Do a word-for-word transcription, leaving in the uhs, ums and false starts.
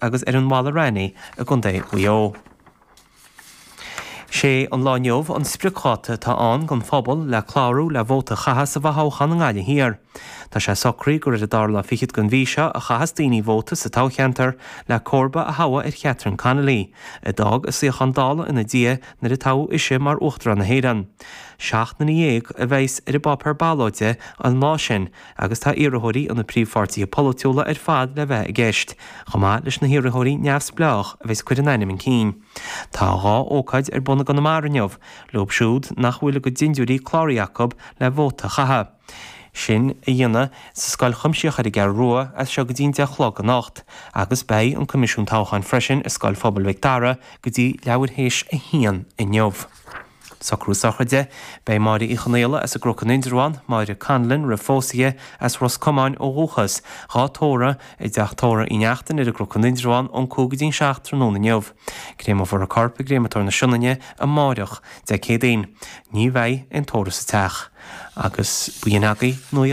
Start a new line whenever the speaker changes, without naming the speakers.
agus ar an Mhala Raithní i gContae Mhaigh Eo. Sé an lá inniu an spriocdháta atá ann don phobal le clárú le vóta a chaitheamh sa bhfothoghchán i nGaillimh Thiar. Tá sé socraithe gur ar an dara lá fichead den mhí seo a chaithfeas daoine vóta sa toghcheantar le comharba a thoghadh ar Catherine Connolly, a d'fhág a suíochán Dála ina diaidh nuair a toghadh ise mar Uachtarán na hÉireann. Seacht nduine dhéag a bheas ar an bpáipéar ballóide an lá sin agus tá iarrthóirí ó na príomhpháirtithe polaitiúla ar fad le bheith i gceist, chomh maith leis na hiarrthóirí neamhspleách a bheas ag cur a n-ainm chun cinn. Tá dhá ócáid ar bun i gConamara inniu, leo siúd nach bhfuil a gcuid dindiúirí cláraithe acu le vóta a chaitheamh. Sin a dhéanamh sa Scoil Chuimsitheach ar an gCeathrú Rua as seo go dtí an deich a chlog anocht, agus beidh an Coimisiún Toghcháin freisin i Scoil Phobail Mhic Dara go dtí leathuair théis a haon inniu. Socrú sochraide, Beidh Máire Uí Chonaola as an gCnoc in Indreabhán, Máire Conlon roimh phósadh as Ros Comáin ó dhúchas, dhá tórramh i dteach tórraimh Uí Neachtain ar an gCnoc in Indreabhán ón cúig go dtí an seacht tráthnóna inniu. Créamófar a corp i gCréamatóir na Sionainne amárach, Dé Céadaoin. Ní bheidh aon tórramh sa teach. Agus b'in agaibh nuacht.